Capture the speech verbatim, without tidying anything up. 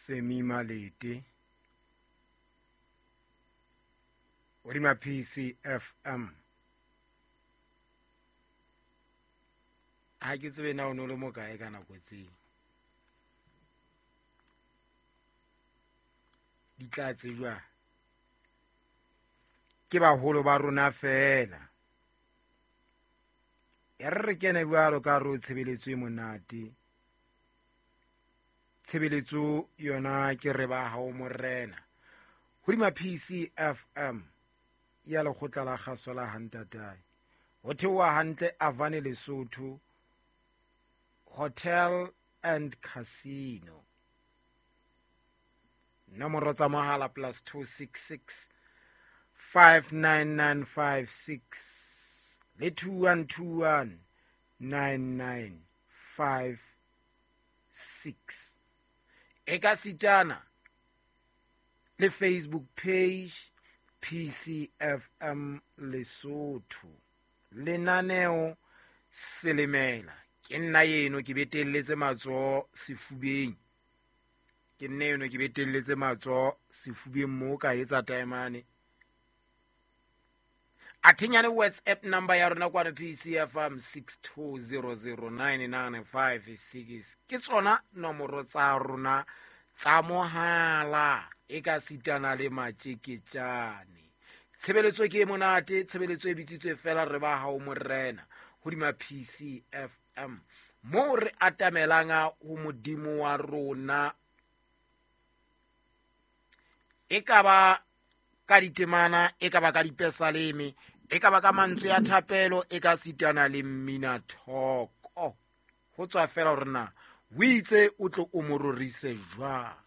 Semi Malete hodima P C F M. Ha ke tsebe na o no le mo kae ka nako tse. Di tla tsejwa ke baholo ba rona feela. Ya re re kene jwalo ka ro tshebeletso e monate. Tshebeletso yona ke re ba hao morena. Hodima P C F M ya lekgotla la kgaso la Hantatae. Ho theoha hantle Avane Lesotho Hotel and Casino. Nomoro tsa mohala plus two six six five nine nine five six le two one two one nine nine five six. E ka sitana le Facebook page P C F M Lesotho. Lenaneo Selemela. Ke nna eno ke betelletse matsoho sefubeng. Ke nna eno ke betelletse matsoho sefubeng mo ka etsa taemane. Athinyane WhatsApp number ya rona kwana P C F M six two zero zero nine nine five six. Ke tsona nomoro tsa rona tsa mohala e ka sitana le matjeketjane. Tshebeletso ke e monate, tshebeletso e bitsitswe fela re ba hao morena hodima P C F M. Mo re atamelang ho Modimo wa rona e ka ba ka ditemana, e ka ba ka dipesaleme, e ka ba ka mantswe ya thapelo, e ka sitana le mmina thoko. Ho tswa fela hore na o itse o tlo o mo rorise jwang.